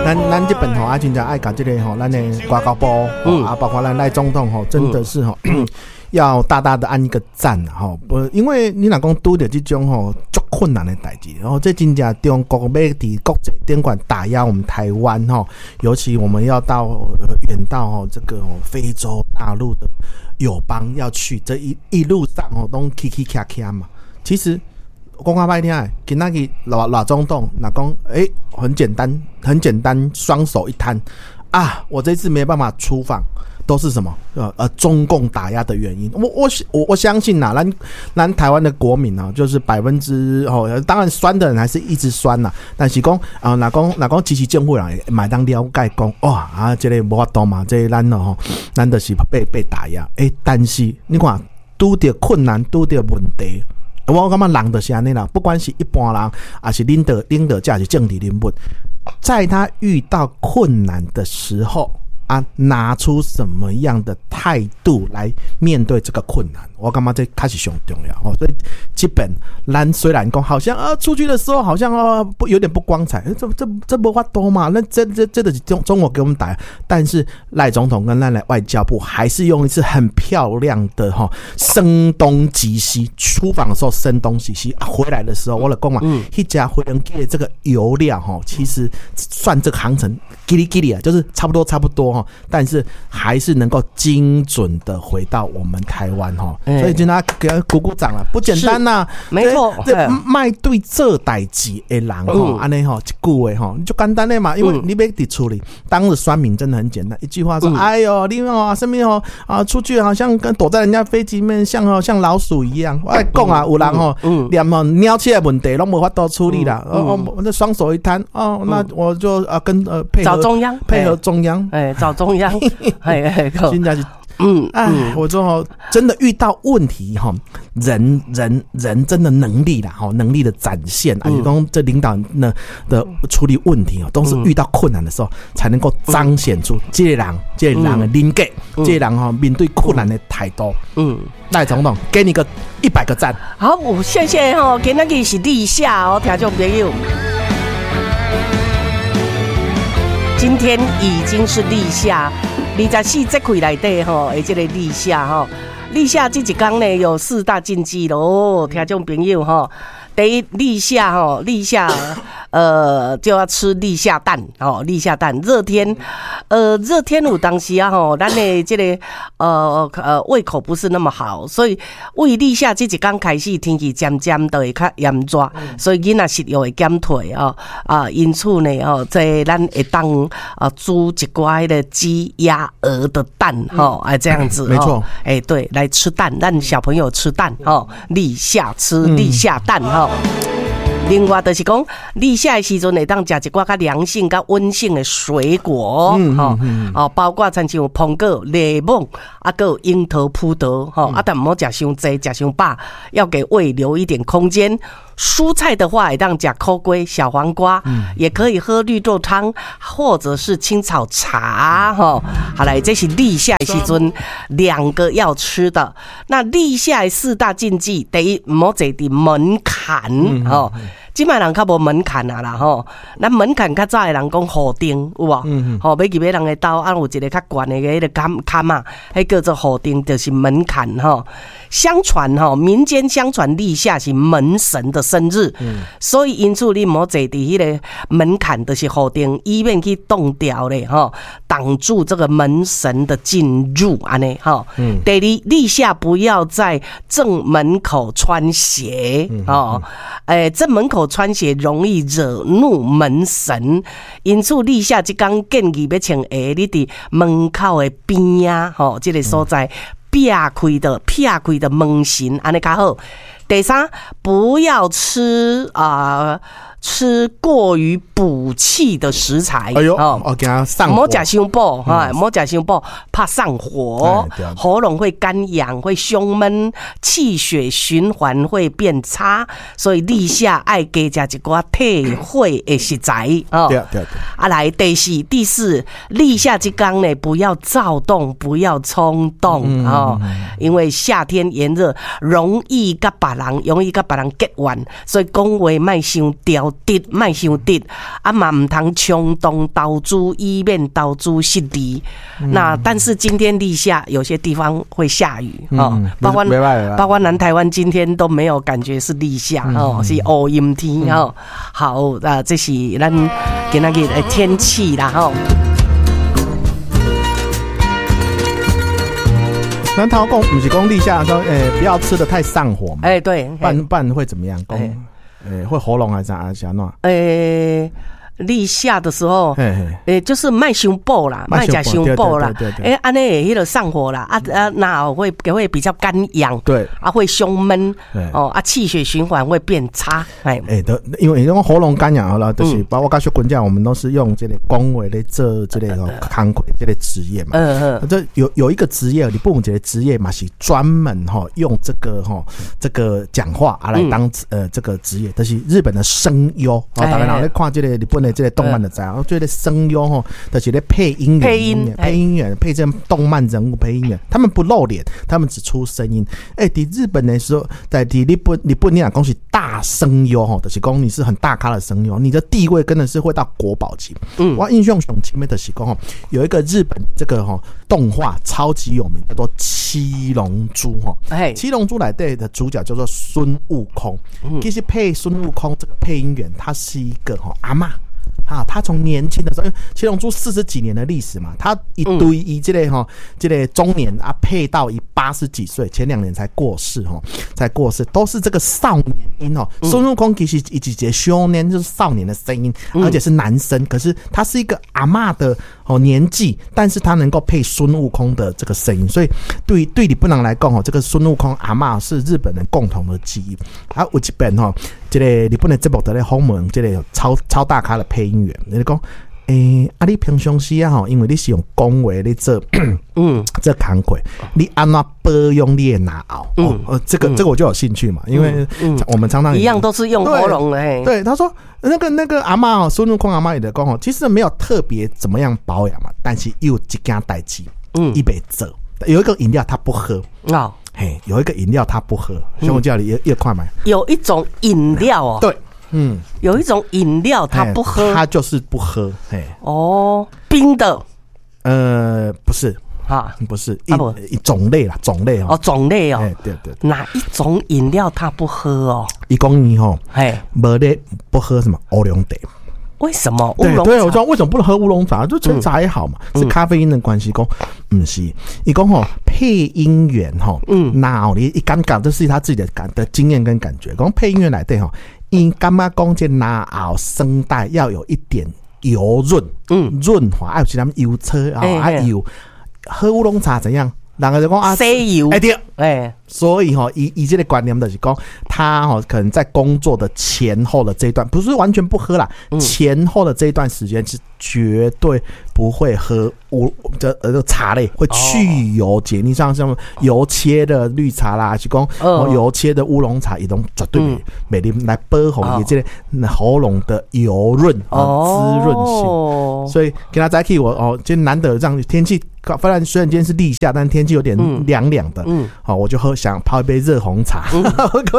咱這邊吼啊，真正愛共這个吼，咱的外交部，啊，包括咱賴總統吼，真的是吼，要大大的按一個讚吼，不，因為你若講拄著這種吼足困難的代誌，然後這真正中國欲佇國際頂懸打壓我們台灣吼，尤其我們要到遠到吼這個非洲大陸的友邦要去，這一路上吼攏起起卡卡嘛，其實。講較歹聽的，今仔日賴賴總統若講，欸，很簡單，很簡單，雙手一攤啊，我這次沒辦法出訪，都是什麼？中共打壓的原因。我相信吶，咱台灣的國民啊，就是百分之哦，當然酸的人還是一直酸啦。但是講啊，若講支持政府人嘛會當了解講，哇啊，這个無法度嘛，這个咱哦，咱就是被打壓。欸，但是你看，拄著困難，拄著問題。我感覺人就是按呢啦，不管是一般人，抑是領導者，抑是政治人物，在他遇到困難的時候啊，拿出什麼樣的態度來面對這個困難，我感覺這較是上重要哦。所以基本咱雖然講好像啊，出去的時候好像哦不有點不光彩，這無法度嘛，那這就是中國給我們打，但是賴總統跟咱的外交部還是用一次很漂亮的哈聲東擊西，出訪的時候聲東擊西，啊，回來的時候我就講嘛，彼架飛機的這個油料哈，其實算這個航程嘰哩嘰哩啊，就是差不多差不多哈，但是還是能夠精準的回到我們台灣哈，所以今天給他鼓鼓掌了，不簡單吶，沒錯，這莫對做代誌的人吼，按呢吼，一句話吼，就簡單的嘛，因為你欲佇厝裡，當日酸民真的很簡單，一句話說，哎呦，你哦，啥物哦，啊，出去好像跟躲在人家飛機裡面，像哦像老鼠一樣。我講啊，有人吼，連吼鳥鼠的問題攏無法度處理啦，哦，那雙手一攤，哦，那我就啊跟配合找中央，配合中央，哎，找中央，哎哎，真正是。哎，我說哦，真的遇到問題哈，人真的能力啦，哈，能力的展現啊，就講這領導呢的處理問題哦，都是遇到困難的時候才能夠彰顯出這個人的人格，這個人哈面對困難的態度。賴總統給你個100個讚。好，謝謝吼，今仔日是立夏哦，聽眾朋友。今天已經是立夏，24節氣內底吼，的這个立夏吼，立夏這一工呢有四大禁忌咯，聽眾朋友吼，第一立夏吼，立夏就要吃立夏蛋哦，立夏蛋熱天，熱天有當時啊吼，咱的這个胃口不是那麼好，所以為立夏這一工開始天氣漸漸就會較炎熱，所以囡仔食欲會減退哦啊，因此呢哦，這咱會當啊煮一寡彼个雞鴨鵝的蛋吼，哎這樣子，沒錯，哎對，來吃蛋，讓小朋友吃蛋吼，立夏吃立夏蛋吼。另外就是講，立夏的時陣會當食一寡較涼性、較溫性的水果，吼，哦，包括親像蘋果、檸檬，啊，閣有櫻桃、葡萄，吼，啊，但毋好食傷濟、食傷飽，要給胃留一點空間。蔬菜的話，會當食苦瓜、小黃瓜，也可以喝綠豆湯，或者是青草茶，吼。好來，這是立夏的時陣兩個要吃的。那立夏的四大禁忌，第一，毋好坐佇門檻，吼。這擺人較無門檻啊啦吼，咱門檻較早的人講雨頂有無？吼，欲入去人的兜啊，有一个較懸的彼个坎坎仔，彼叫做雨頂，就是門檻吼。相傳吼，民間相傳立夏是門神的生日，所以因此你毋好坐佇彼个門檻，就是雨頂，以免去擋牢咧吼，擋住這個門神的進入按呢吼。第二，立夏不要在正門口穿鞋哦，欸，正門口穿鞋容易惹怒門神，因此立夏這工建議欲穿鞋，你佇門口的邊仔吼，這个所在避開著門神，按呢較好。第三，不要吃啊，吃過於補氣的食材。哎呦，哦，驚上火。莫食傷補，哈，莫食傷補，怕上火，喉嚨會乾癢，會胸悶，氣血循環會變差，所以立夏愛加食一寡退火的食材。哦，對對對。啊，來第四，立夏這工呢，不要躁動，不要衝動哦，因為夏天炎熱，容易佮別人，容易佮別人結怨，所以講話莫傷著直，莫傷直，啊嘛毋通衝動投資，以免投資失利。那但是今天立夏，有些地方會下雨哦，包括南台灣今天都沒有感覺是立夏哦，是烏陰天哦。好，啊，這是咱今仔日的天氣啦吼。咱頭講毋是講立夏說，不要吃得太上火嘛。哎，對，不然會怎麼樣？講，會喉嚨還是啥？是按怎？立夏的時候，就是莫傷補啦，莫食傷補啦，按呢會彼个上火啦，啊啊，那會比較乾癢，啊會胸悶，哦啊氣血循環會變差，哎，對，因為因為喉嚨乾癢好了，就是包括小滾講，我們都是用這個講話咧做這個工課這個職業嘛，這有一個職業，你不一個職業嘛，是專門哈用這個哈這個講話啊來當這個職業，就是日本的聲優，啊，大家若咧看這個日本的這個動漫就知，我覺得聲優吼，就是咧配音員，配音配音員配這動漫人物配音員，他們不露臉，他們只出聲音。欸，佇日本的時候，在佇日本，日本你若講是大聲優吼，就是講你是很大咖的聲優，你的地位真的是會到國寶級。我印象上深的就是講吼，有一個日本這個吼動畫超級有名，叫做《七龍珠》吼。七龍珠內底的主角叫做孫悟空。其實配孫悟空這個配音員，他是一個吼阿嬤。啊，他從年輕的時候，因為七龍珠40幾年的歷史嘛，他一對伊這個吼，這個中年啊，配到伊80幾歲，前2年才過世吼，才過世，都是這個少年音哦。孫悟空其實伊一個少年，就是少年的聲音，而且是男生，可是他是一個阿嬤的哦年紀，但是他能夠配孫悟空的這個聲音，所以對日本人來講哦，這個孫悟空阿嬤是日本人共同的記憶。啊，有一遍吼，這個日本的節目佇咧訪問這個超大咖的配音員，伊就講，啊，你平常時啊吼，因為你是用講話咧做，做工課，你按怎保養你的嚨喉？這個我就有興趣嘛，因為我們常常一樣都是用喉嚨的。對，他說那個阿嬤哦，孫悟空阿嬤也講哦，其實沒有特別怎麼樣保養嘛，但是有一件代誌，伊袂做，有一個飲料他不喝哦，嘿，有一個飲料他不喝，所以我叫你一塊買。有一種飲料哦，對。有一種飲料他不喝，他就是不喝。嘿，哦，冰的，不是啊，不是一種類啦，種類哦，種類哦，對對，哪一種飲料他不喝哦？伊講伊吼，嘿，無咧不喝什麼烏龍茶？為什麼？對對，我說為什麼不能喝烏龍茶？就純茶也好嘛，是咖啡因的關係。講毋是，伊講吼配音員吼，那你一感覺這是他自己的感的經驗跟感覺。講配音員來對吼。伊感覺講這嚨喉聲帶要有一點油潤，潤滑，愛有一點油車啊，啊油，喝烏龍茶怎樣？人家就講啊，吸油，欸對，所以吼，伊這個觀念就是講，他吼可能在工作的前後的這一段，不是完全不喝啦，前後的這一段時間是絕對不會喝烏這茶類，會去油解膩，像什麼油切的綠茶啦，是講油切的烏龍茶，伊攏絕對袂啉來保護伊這個喉嚨的油潤滋潤性。所以今仔早起我哦，今天難得這樣天氣。雖然今天是立夏，但天氣有點涼涼的。好，我就喝想泡一杯熱紅茶。我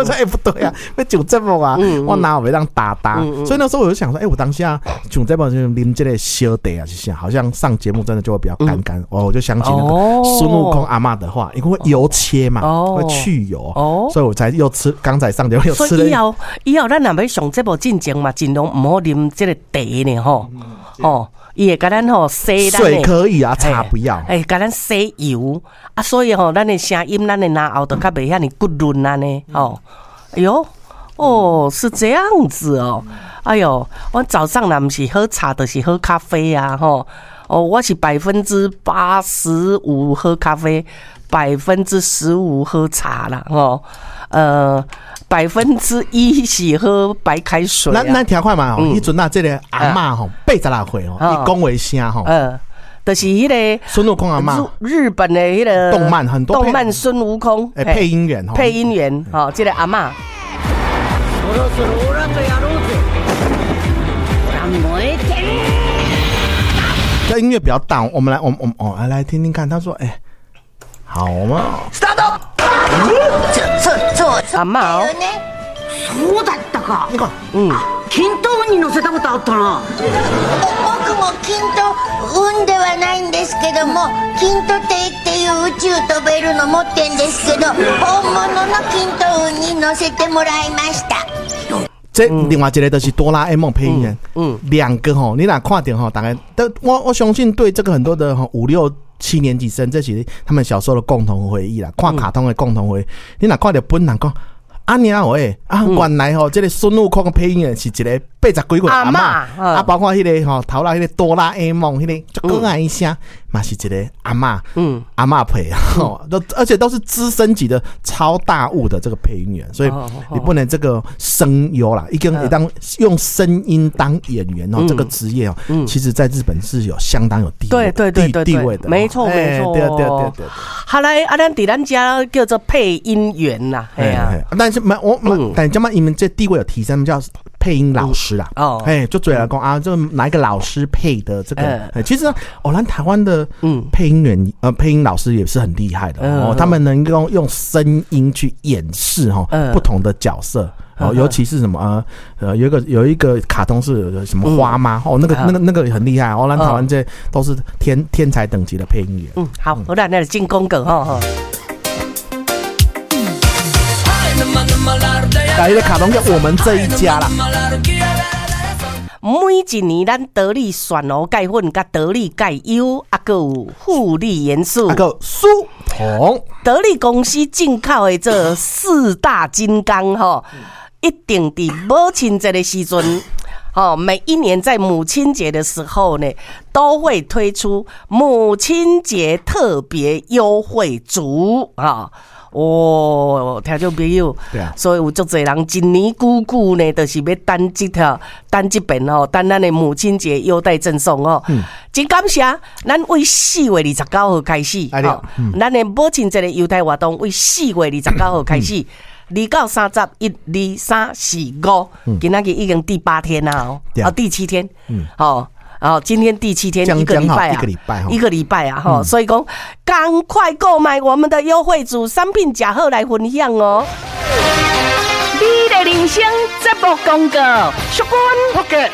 說欸，不對啊，欲上節目啊，我哪有會當焦焦？所以那時候我就想說，欸，我當下上節目就啉這個燒茶啊，是啥？好像上節目真的就會比較乾乾。哦，我就想起那個孫悟空阿嬤的話，因為油切嘛，會去油，所以我才又吃。剛才上節目又吃了。所以以後以後咱若欲上節目進前嘛，盡量毋好啉這個茶呢，吼，哦。伊會共咱吼洗咱水可以啊，茶不要。欸，共咱洗油啊，所以吼，咱的聲音，咱的嚨喉就較袂遐爾骨潤按呢，吼。哎喲，哦，是這樣子哦。哎喲，我早上若毋是喝茶，就是喝咖啡啊，吼。哦，我是85%喝咖啡，15%喝茶啦，吼。1%是喝白開水。咱聽看嘛，彼陣啊，這個阿嬤吼，86歲吼，伊講話聲吼，就是彼個孫悟空阿嬤，日本的彼個動漫很多動漫孫悟空，配音員，配音員，吼，這個阿嬤。そろそろオラとやろうぜ。オラ燃えてる。這音樂比較大，我們來，我我哦，來來聽聽看。他說：“哎，好嘛。” ちょそう阿嬤哦だよね。そうだったか。你看，均等に乗せたことあったな。僕も均等運ではないんですけども、均等艇っていう宇宙飛べるの持ってんですけど、本物の均等運に乗せてもらいました。這另外一個就是哆啦 A 夢配音員，兩個吼，你若看著吼，大概都我相信對這個很多的吼五六七年級生，這是他們小時候的共同回憶啦，看卡通的共同回憶。你若看著本人講，按呢喂，啊，原來吼，這個孫悟空的配音員是一個80幾歲阿嬤，啊，包括彼個吼頭仔彼個哆啦 A 夢，彼個足可愛的聲，嘛是一個阿嬤，阿嬤配，吼，都而且都是資深級的超大物的這個配音員，所以你不能這個聲優啦，已經會當用聲音當演員哦，這個職業哦，其實在日本是有相當有地位，地位的，沒錯沒錯，對對對對。後來啊，咱佇咱遮叫做配音員啦，係啊，但是沒我，但這馬因為這地位有提升，叫配音老師啦。哦，哎，就嘴來講啊，就哪一個老師配的這個？其實哦，咱台灣的配音員配音老師也是很厲害的哦，他們能夠用聲音去演示哈不同的角色哦，尤其是什麼有一個卡通是什麼花媽哦，那個很厲害哦，咱台灣這都是天才等級的配音員。嗯，好，好啦，那就進廣告吼。來一個卡通叫我們這一家啦。每一年，咱得力蒜蘆鈣粉、佮得力鈣優，啊，閣有護理元素，啊，閣舒膨。得力公司進口的這四大金剛吼，一定佇母親節的時陣，吼，每一年在母親節的時候呢，都會推出母親節特別優惠組啊。哦，聽眾朋友，所以有足濟人一年久久呢，就是欲等這條，等這遍吼，等咱的母親節優待贈送哦。真感謝，咱為4月29號開始，咱的母親節的優待活動為4月29號開始，2到30，1、2、3、4、5，今仔日已經第8天啦哦，啊第7天，哦。哦，今天第7天，一個禮拜啊，一個禮拜啊，吼，所以講，趕快購買我們的優惠組商品，呷好來分享哦。美麗人生節目廣告，淑君，廣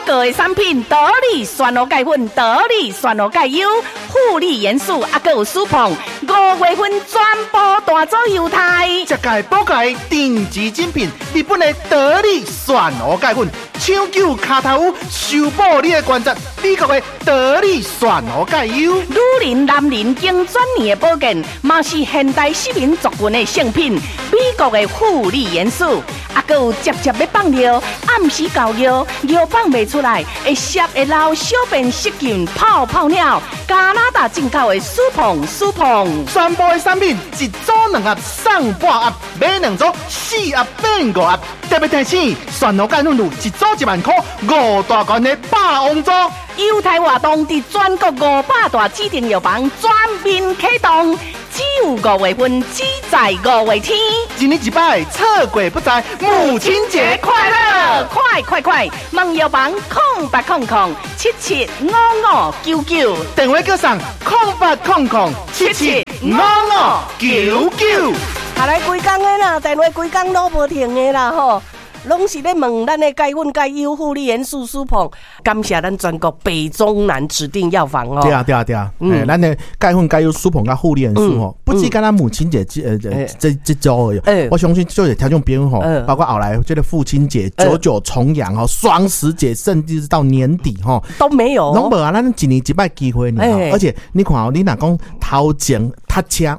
告的產品，得力蒜蘆鈣粉，得力蒜蘆鈣優，護理元素，啊，閣有舒膨，5月份全部大組猶太。這屆寶蓋頂級精品，日本的得力蒜蘆鈣粉，搶救跤頭趺，修補你的關節。美國的得力蒜蘆鈣優，女人、男人經轉年的保健，嘛是現代市民族群的聖品。美國的護理元素，啊，閣有捷捷欲放尿，暗時搞尿，尿放袂出來，會濕會流，小便失禁，泡泡尿。加拿大進口的舒膨舒膨，全部的產品一組2盒送半盒，買2組4盒變5盒。特別提醒，蒜蘆鈣粉有一組1萬塊，5大罐的霸王組。優待活動佇全國500大指定藥房全面啟動，只有5月份，只在5月天。一年一擺，錯過不再。母親節快樂！快快快！問藥房0800775599，電話叫送0800775599。下來規工的啦，電話規工攏無停的啦吼。攏是咧問咱的鈣粉、鈣優、護理元素、舒膨，感謝咱全國北中南指定藥房哦。對啊，對啊，對啊，咱的鈣粉、鈣優、舒膨佮護理元素吼，不止干焦母親節這週而已。我相信就是聽眾朋友吼，包括後來這個父親節、九九重陽吼、雙十節，甚至是到年底吼，都沒有。攏無啊，咱一年一擺機會呢。而且你看哦，你若講頭前塞車，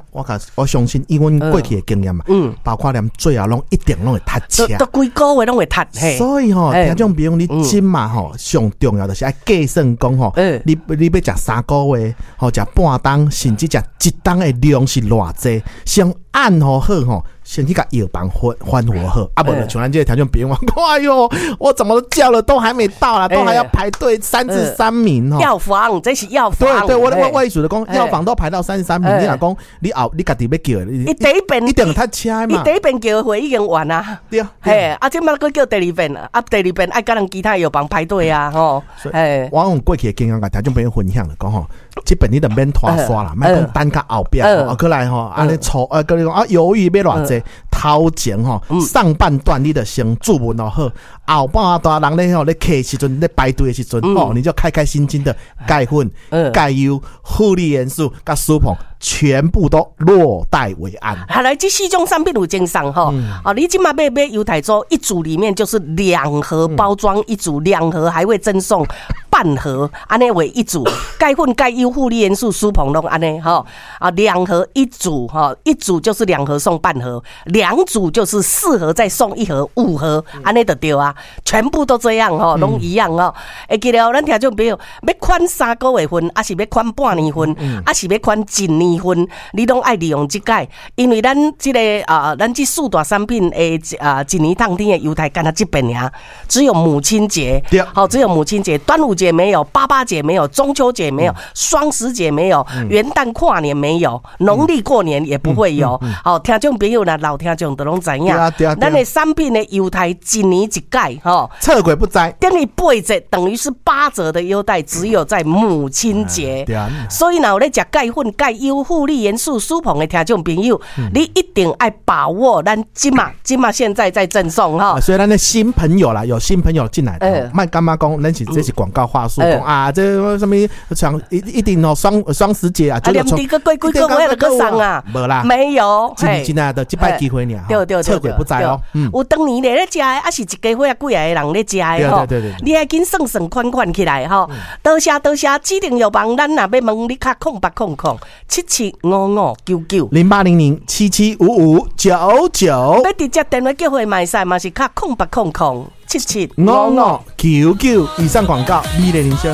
我相信以阮過去的經驗嘛，包括連最後攏一定攏會塞車。都規個月攏會塞。所以吼，聽眾朋友，你這馬吼上重要就是愛計算講吼，你欲食3個月，吼食半冬，甚至食一冬的量是偌濟，先按好好吼，先去共藥房翻覆好，啊，無就像咱這个聽眾朋友講，哎喲，我怎麼叫了都還沒到啦，都還要排隊33名吼。藥房，這是藥房。對對，我意思就講，藥房都排到三十三名，你若講你後你家己欲叫的，伊第一遍一定塞車嘛。伊第一遍叫的貨已經完啊。對啊。嘿，啊，這擺閣叫第二遍，啊，第二遍愛佮人其他藥房排隊啊，吼。嘿，我用過去的經驗共聽眾朋友分享就講吼，這遍你就免拖沙啦，莫講等較後壁，啊，過來吼，按呢錯，啊，閣你講啊，猶豫欲偌濟，頭前吼上半段你就先注文哦好，後半段人咧吼咧客時陣咧排隊的時陣哦，你就開開心心的鈣粉、鈣優、護理元素、佮舒膨，全部都落袋為安。後來這四種產品有贈送吼，哦，你這擺買買優待組一組裡面就是兩盒包裝一組，兩盒還會贈送半盒，按呢為一組。鈣粉、鈣優、護理元素、舒膨攏按呢吼，啊，兩盒一組吼，一組就是兩盒送半盒，兩組就是四盒再送一盒，五盒，按呢就對啊，全部都這樣吼，攏一樣吼。會記得咱聽眾朋友欲款三個月份，抑是欲款半年份，抑是欲款一年份，你攏愛利用這擺，因為咱這个啊，咱這四大產品的啊，一年當天的優待，干焦這擺爾，只有母親節，好，只有母親節，端午節沒有，八八節沒有，中秋節沒有，雙十節沒有，元旦跨年沒有，農曆過年也不會有。好，聽眾朋友啦，老聽眾都攏知影，咱的產品的優待一年一改，吼，測鬼不知，等於八折，等於是八折的優待，只有在母親節。所以若有咧食鈣粉、鈣優、護理元素、舒膨的聽眾朋友，你一定愛把握咱這馬這馬現在在贈送哈。所以咱的新朋友啦，有新朋友進來，莫感覺講，咱是這是廣告話術，講啊，這啥物像一定哦，雙十節啊，啊，連這個過幾個月就閣送啊，無啦，沒有，真真啊，就這擺機會爾，對對對，測鬼不知哦。有當年咧食的，抑是一家伙仔幾个人咧食的吼，你愛緊算算款款起來吼。多謝多謝，指定藥房，咱若欲問你敲0800775599 0800775599，欲直接電話叫貨嘛會使，嘛是敲080077 5599。以上廣告，美麗人生。